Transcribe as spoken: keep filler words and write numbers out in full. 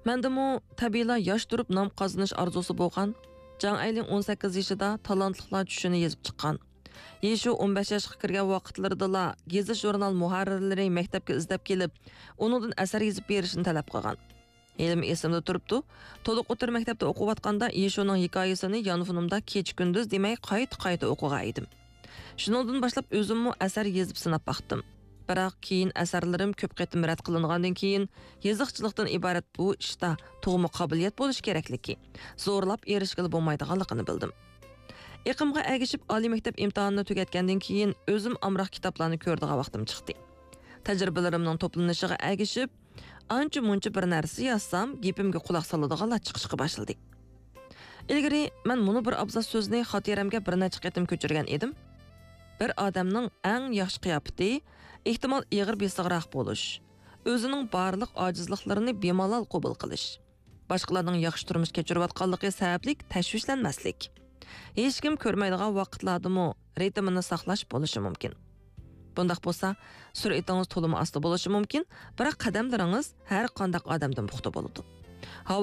مەندىمۇ تەبىئىيلا ياش تۇرۇپ نام قازىنىش ئارزۇسى بولغان. جاڭ ئەيلىن ئون سەككىز يېشىدا تالانتلىقلار چۈشىنى يېزىپ چىققان. يېشۇ ئون بەش ياشقا كىرگەن ۋاقىتلىرىدىلا گېزىت-ژۇرنال مۇھەررىرلىرى مەكتەپكە ئىزدەپ كېلىپ، ئۇنىڭدىن ئەسەر يېزىپ بېرىشنى تەلەپ قىلغان. ھېلىمۇ ئېسىمدە تۇرۇپتۇ، تولۇق ئوتتۇرا مەكتەپتە ئوقۇۋاتقاندا يېشۇنىڭ ھېكايىسىنى يانفونۇمدا كېچە-كۈندۈز دېمەي قايتا-قايتا ئوقۇغان ئىدىم. شۇنىڭدىن باشلاپ ئۆزۈممۇ ئەسەر يېزىپ سىناپ باقتىم. بىراق كېيىن ئەسەرلىرىم كۆپ قېتىم رەت قىلىنغاندىن كېيىن، يېزىقچىلىقتىن ئىبارەت بۇ ئىشتا تۇغما قابىلىيەت بولۇشى كېرەكلىكى، زورلاپ ئېرىشكىلى بولمايدىغانلىقىنى بىلدىم. ئېقىمغا ئەگىشىپ، ئالىي مەكتەپ ئىمتىھانىنى تۈگەتكەندىن كېيىن، ئۆزۈم ئامراق كىتابلارنى كۆرىدىغان ۋاقتىم چىقتى. تەجرىبىلىرىمنىڭ توپلىنىشىغا ئەگىشىپ، ئانچە-مۇنچە بىر نەرسە يازسام، گېپىمگە قۇلاق سالىدىغانلار چىقىشقا باشلىدى. ئىلگىرى مەن مۇنۇ بىر ئابزاس سۆزنى خاتىرەمگە بىر نەچچە قېتىم كۆچۈرگەن ئىدىم. بىر ئادەمنىڭ ئەڭ ياخشى قىياپىتى، ئېھتىمال، ئېغىر بېسىقراق بولۇش، ئۆزىنىڭ بارلىق ئاجىزلىقلىرىنى بىمالال قوبۇل قىلىش، باشقىلارنىڭ ياخشى تۇرمۇش كەچۈرۈۋاتقانلىقى سەۋەبلىك تەشۋىشلەنمەسلىك، ھېچكىم كۆرمەيدىغان ۋاقىتلاردىمۇ رىتىمىنى ساقلاش بولۇشى مۇمكىن. بۇنداق بولسا، سۈرئىتىڭىز تولىمۇ ئاستا بولۇشى مۇمكىن، بىراق قەدەملىرىڭىز ھەر قانداق ئادەمدىن پۇختا بولىدۇ.